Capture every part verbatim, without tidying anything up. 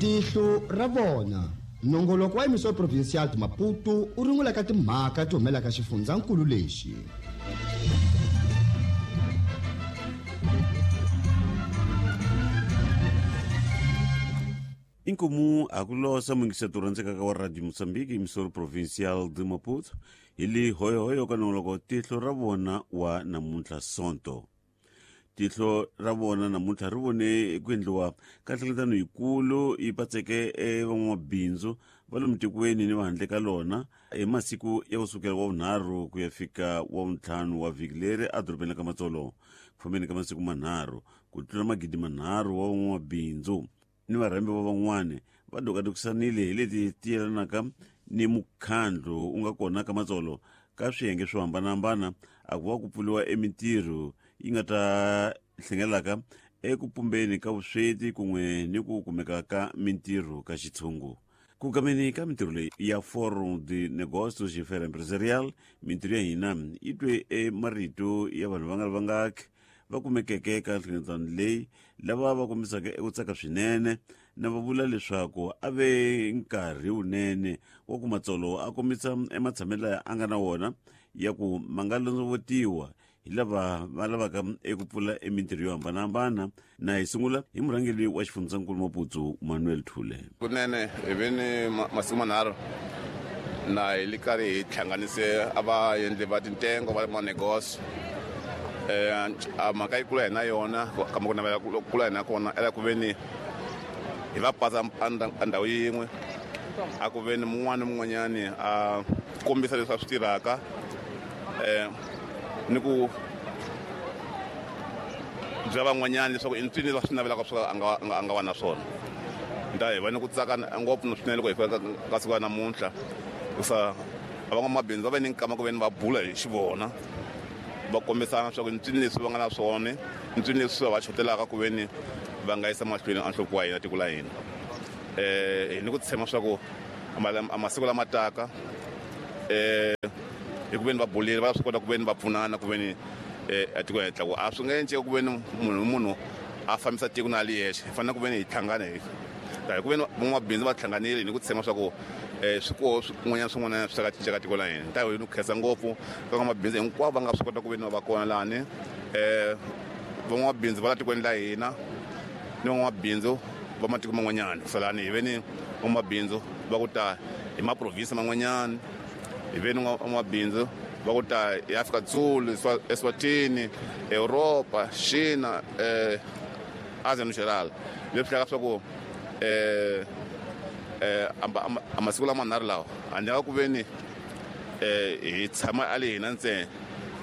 Tihlo ra vona nongoloko wa Emissão Provincial de Maputo u rungulaka timhaka ti humelaka xifundzankulu lexi. Inkomu akulosa mungiseto rhandzekaka wa Radio Mozambique Emissão Provincial de Maputo hi li hoyohoyo ka nongoloko tihlo ra vona wa namuntlha Sonto. Tihlo ra vona namuntlha ri vone ku endliwa ka nhlengeletano yikulu yi patseke van'wamabindzu va lomu tikweni ni va handle ka lona hi masiku ya kusukela wa vunharhu ku ya fika wa vuntlhanu wa vhiki leri edorobeni ka Matsolo. Ku fambeni ka masiku manharhu ku tlula magidi manharhu wa van'wamabindzu ni varhambi va van'wani va dokadokisanile hi leti ti yelanaka ni mukhandlu wu nga kona ka Matsolo ka swiyenge swo hambanahambana a ku va ku pfuriwa emintirho yi nga ta hlengelaka eku pumbeni ka vusweti kun'we ni ku kumeka ka mintirho ka xitshungu. Ku kameni ka mintirho leyi ya Forum de Negócios e Feira Empresarial, mintirho ya hina yi twe emarito ya vanhu va nga ri vangaki va kumekeke ka nhlengeletano leyi lava va kombisaka eku tsaka swinene na va vula leswaku a ve nkarhi wunene wa ku Matsolo a kombisa ematshamelo laya a nga na wona ya ku ma nga londzovotiwa hi lava va lavaka eku pfula emintirho yo hambanahambana. Na hi sungula hi murhangeri wa xifundzankulu Maputo Manuel Thule. Kunene hi ve ni masiku manharhu na hi li karhi hi hlanganise a va endli va tintengo va manegosio. Eh a mhaka yi kula hi na yona kambe ku navela ku kula hi na kona ela ku ve ni hi va patsa a ndhawu yin'we a ku ve ni mun'wana ni mun'wanyani a kombisa leswi a swi tirhaka eh ni ku byela van'wanyana leswaku i ncini leswi swi navelaka swo a nga a nga va na swona. Nta hi va ni ku tsaka ngopfu swinene loko hi fika ka siku ra namuntlha hikusa van'wamabindzu va ve ni nkama ku ve ni va bula hi xivona va kombisana leswaku ncini leswi va nga na swona ncini leswi va xotelaka ku ve ni va nga yisa mahlweni a nhloko wa hina tiko la hina. Eh hi ni ku tshemba swa ku masiku lama taka eh hi ku ve ni va bulile va swi kota ku ve ni va pfunana ku ve ni eh tiko hi tlaku a swi nga endleki ku ve ni munhu munhu a fambisa tiko na li yexe hi fanele ku ve ni hi hlangana hi hi ku ve ni van'wamabindzu va hlanganile hi ni ku tshemba swa ku eh swikoho swin'wanyana swin'wana swi ta cinca ka tiko la hina. Nta hi ni ku khensa ngopfu ka van'wamabindzu hinkwavo va nga swi kota ku ve ni va kona lani eh van'wamabindzu va la tikweni la hina ni van'wamabindzu va matiko man'wanyana salani hi ve ni van'wamabindzu va ku ta hi maprovinsi man'wanyana hi ve ni van'wamabindzu va ku ta hi Afrika Dzulu, Eswatini, Europa, China, eh Asia no geral. Leswi hlaka swa ku eh eh a masiku lamanharhu lawa handle ka ku ve ni eh hi tshama a le hina ntsena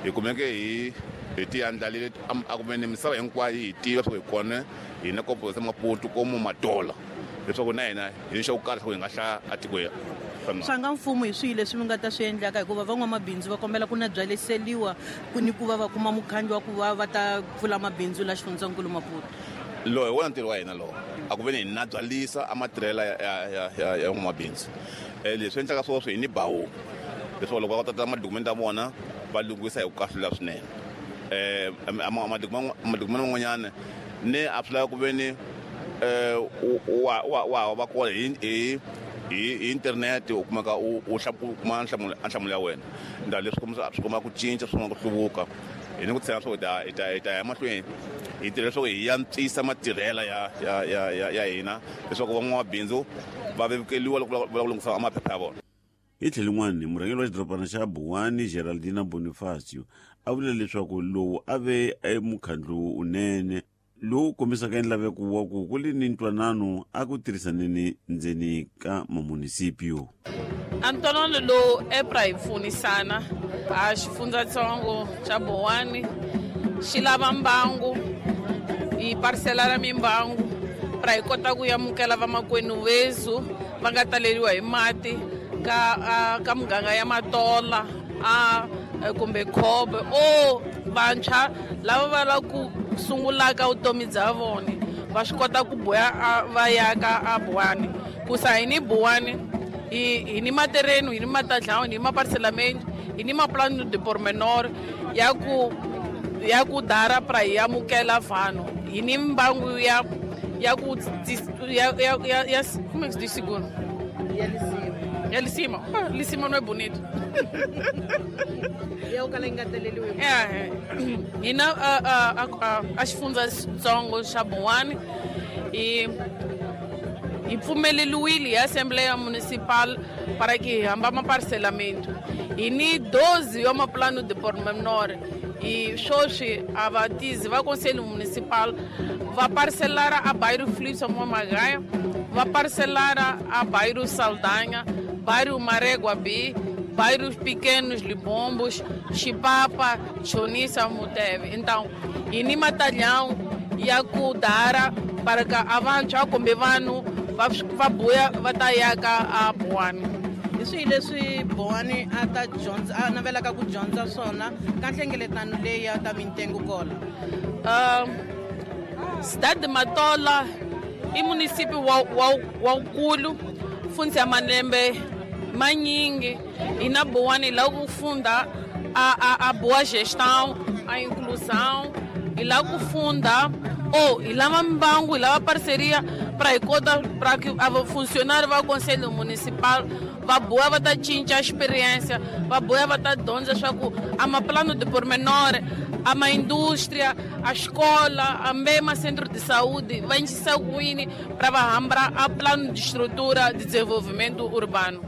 hi kumeke hi hi ti andlalile a ku ve ni misava hinkwayo hi tiva swa ku hi kona hina kopo sa Maputo komo Matola leswaku na hina hi ni xo karhi swa ku hi nga hlaya a tikweni. Swa nga mfumo hi swihi leswi mi nga ta swi endlaka hikuva van'wamabindzu va kombela ku na byaleseliwa ku ni ku va va kuma mukhandlu wa ku va va ta pfula mabindzu la xifundzankulu Maputo. Lowu hi wona ntirho wa hina lowu a ku ve ni hi na byalisa a matirhela ya ya ya ya van'wamabindzu. Eh leswi endlaka swona swi hi ni bawu leswaku loko va tata madokumenti ya vona va lunghisa hi ku kahlula swinene. Eh madokumenti man'wanyana ni a swi lava ku ve ni eh wa wa wa va kona hi hi hi internet u kumeka u u kuma nhlamulo nhlamulo ya wena. Nda leswi kombisa swi komba ku cinca swi komba ku hluvuka hi ni ku tshemba swa ku hi ta hi ta ya mahlweni hi tirha leswaku hi antswisa matirhela ya ya ya ya ya hina leswaku van'wamabindzu va vevukeliwa loko va lava ku lunghisa maphepha ya vona. Hi tlhelo rin'wana murhangeri wa xidorobana xa Buwani Geraldina Bonifacio a vula leswaku lowu a ve emukhandlu wunene lowu kombisaka enlaveko wa ku ku li ni ntwanano a ku tirhisaneni ndzeni ka mamunisipio. A ntwanano lowu epra hi pfunisana a xifundzatsongo xa Buwani xi lava mbangu hi parisela ra mimbangu pra hi kota ku amukela vamakwenu vezu va nga taleriwa hi mati ka ka muganga ya Matola a kumbe Khobe o vantshwa lava va lava ku sungulaka vutomi bya vona va swi kota ku boya va ya ka a Buwani ku sa hi ni Buwani hi hi ni materenu hi ni matadlawu hi ni maparselamende hi ni maplano de pormenor ya ku ya ku dara pra hi amukela vanhu hi ni mbangu ya ya ku ya ya ya como é que se diz seguro? Ya lisima. Ya lisima. Ah, lisima não é bonito. Ya o kala ingateleliwe. É, e na a a a a xifundzatsongo xa Boane e hi pfumeleliwile hi Assembleia Municipal para que hi hamba maparcelamento. Hi ni doze ya maplano de pormenor e sweswi a vatizi va Conselho Municipal va parcelara a bairro Filipe Magaia, va parcelara a bairro Saldanha, bairro Mareguabi, bairros pequenos Libombos, Chipapa, Chonissa, Muteve. Então, hi ni matalhão ya ku dara para que avantshwa kumbe vanhu va va buya va ta yaka a Boane. Hi swihi leswi Boane a ta dyondza a navelaka ku dyondza swona ka nhlengeletano leyi ya ta mintengo kola? Uh, Cidade de Matola i município wa wa wukulu fundza ya malembe manyingi hi na Boane la ku funda a a a boa gestão, a inclusão e lá ku funda ou e lá mbangu e lá parceria para kota para que a funcionário va conselho municipal va boa va ta cinca experiência, va boa va ta dyondza swa ku a maplano de pormenor, a ma indústria, a escola, a mesma centro de saúde va encisa kwini para va hambra a plano de estrutura de desenvolvimento urbano.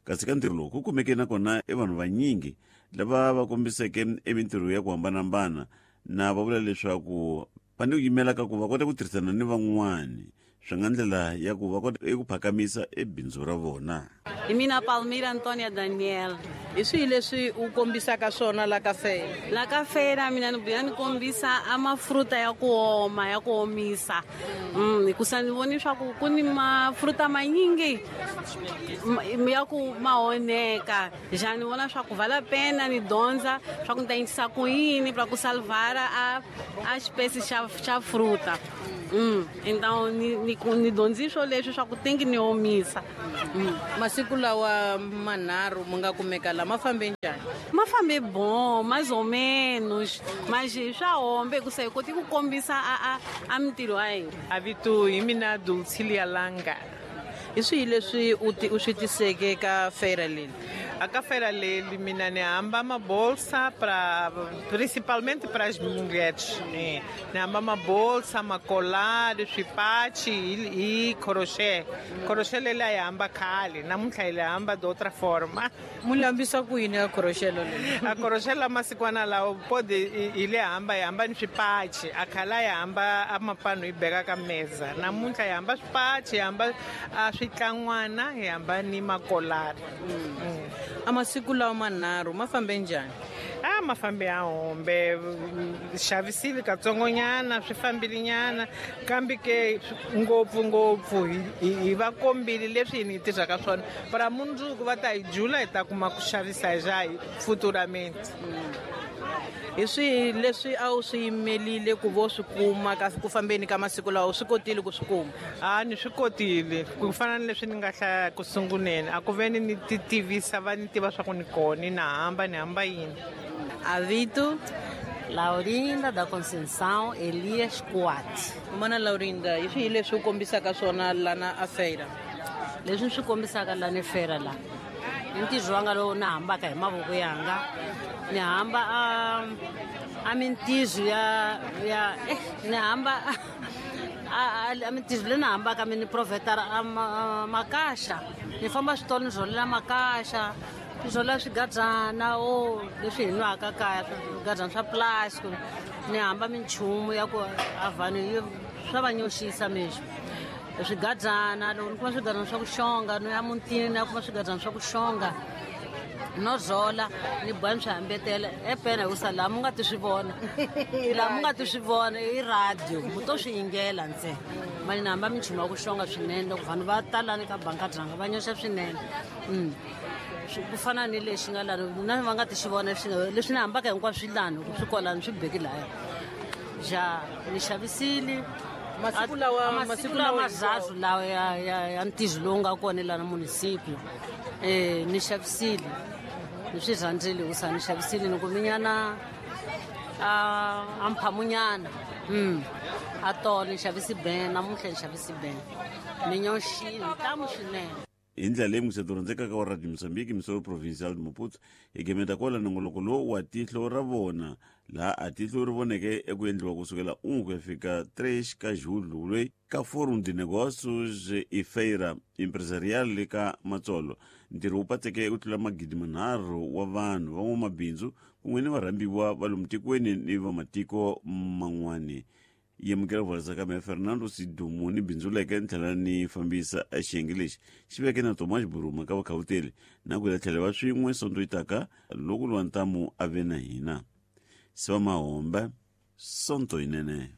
Kasi ka ntirho lowu ku kumeke nakona i vanhu vanyingi lava va kombiseke emintirho ya ku hambanahambana na va vula leswaku va ni ku yimela ka ku va kota ku tirhisana ni van'wani swi nga ndlela ya ku va kota eku phakamisa ebindzu ra vona. Hi mina Palmira Antonia Daniel. Hi swihi leswi u kombisaka swona la ka feira? La ka feira mina ni vuya ni kombisa a mafruta ya ku oma ya ku omisa. Mm, hikusa ni voni swa ku ku ni mafruta manyingi ya ku ma onheka. Já ni vona swa ku vale a pena ni dyondza swa ku ni ta endlisa ku yini pra ku salvara a a espécie xa xa fruta. Mm, então ni ni ni dyondzi swo leswi swa ku tingi ni omisa. Mm. Masiku lawa manharhu mu nga kumeka la ma fambe njhani? Ma fambe bom, mais ou menos, mas swa hombe hikusa hi koti ku kombisa a a a mintirho ya hina. Avito hi mina Dulcilia Langa. Hi swihi leswi u ti u swi tiseke ka feira leyi? A ka feira leyi mina ni hamba uma bolsa para principalmente para as mulheres, né? Ni hamba uma bolsa, uma colar, swipati e, e crochê. Crochê lela ya hamba khale, namuntlha hi hamba de outra forma. Mu lambisa ku yini a crochê leyi? A crochê la masikwana lawo pode ile hamba ya hamba ni swipati, a khala ya hamba a mapano yi beka ka meza. Namuntlha ya hamba swipati, ya hamba a switlangwana, ya hamba ni makolari. Mm. Mm. A masiku lawa manharhu ma fambe njhani? A ma fambe ya hombe, xavisile katsongonyana, swi fambile nyana, kambe ke ngopfu ngopfu hi va kombile leswi hi ni tirhaka swona. Para mundzuku va ta hi jula hi ta kuma ku xavisa ja futuramente. Hi swihi leswi a wu swi yimelile ku vo swi kuma ka ku fambeni ka masiku lawa u swi kotile ku swi kuma? A ni swi kotile ku fana ni leswi ni nga hlaya ku sunguleni a ku ve ni ni ti tivisa va ni tiva swa ku ni kona ni na hamba ni hamba yini. Avito Laurinda da Conceição Elias Coate. Mana Laurinda, hi swihi leswi u kombisaka swona lana a feira? Leswi ni swi kombisaka lana feira la i ntirho wanga lowu ni hambaka hi mavoko yanga. Ni hamba a a mintirho ya ya eh ni hamba a a mintirho leyi ni hambaka mi ni profetara a makaxa. Ni famba switolo ni rholela makaxa, ni rholela swigadyana o leswi hi nwaka kaya, swigadyana swa plastic. Ni hamba minchumu ya ku a vanhu swa va nyoxisa mesmo. Swigadyana loko ni kuma swigadyana swa ku xonga no ya mutini ni ya kuma swigadyana swa ku xonga no rhola ni boha ni swi hambetela epena hikusa laha mu nga ti swi vona laha mu nga ti swi vona i radio mu to swi yingela ntsena. Mali ni hamba minchumu ya ku xonga swinene loko vanhu va talani ka banka dyanga va nyoxa swinene. Ku fana ni lexi nga lani na va nga ti swi vona leswi ni hambaka hinkwaswo swi lani swi kwalani swi beki laya. Ja ni xavisile masiku lawa masiku lawa mazazwu lawa ya ya ya ntirho lowu nga kona lana municipio. Eh ni xavisile ni swi rhandzile hikusa ni xavisile ni kuminyana a a mphamunyana. Mm. A tolo ni xavisi ben, namuntlha ni xavisi ben. Ni nyoxini ntamu swinene. Hi ndlela leyi museto rhandzekaka wa Radio Mozambique, Misoro Provincial de Maputo, hi gemeta kwala nongoloko lowu wa tihlo ra vona, laha a tihlo ri voneke eku endliwa kusukela un ku ya fika tres ka julho loyi ka Forum de Negócios e Feira Empresarial ka Matsolo. Ntirho wu patseke ku tlula magidi manharhu wa vanhu van'wamabindzu kun'we ni varhambiwa va lomu tikweni ni va matiko man'wani. Yemukela vurisa ka mehe Fernando Sidumo ni bindzuleke ni tlhela ni fambisa xiyenge lexi xi veke na Tomas Buruma ka vakhawuteli na ku ya tlhela va swin'we sonto yi taka loko lwa ntamu a ve na hina. Siva Mahombe, sonto yinene.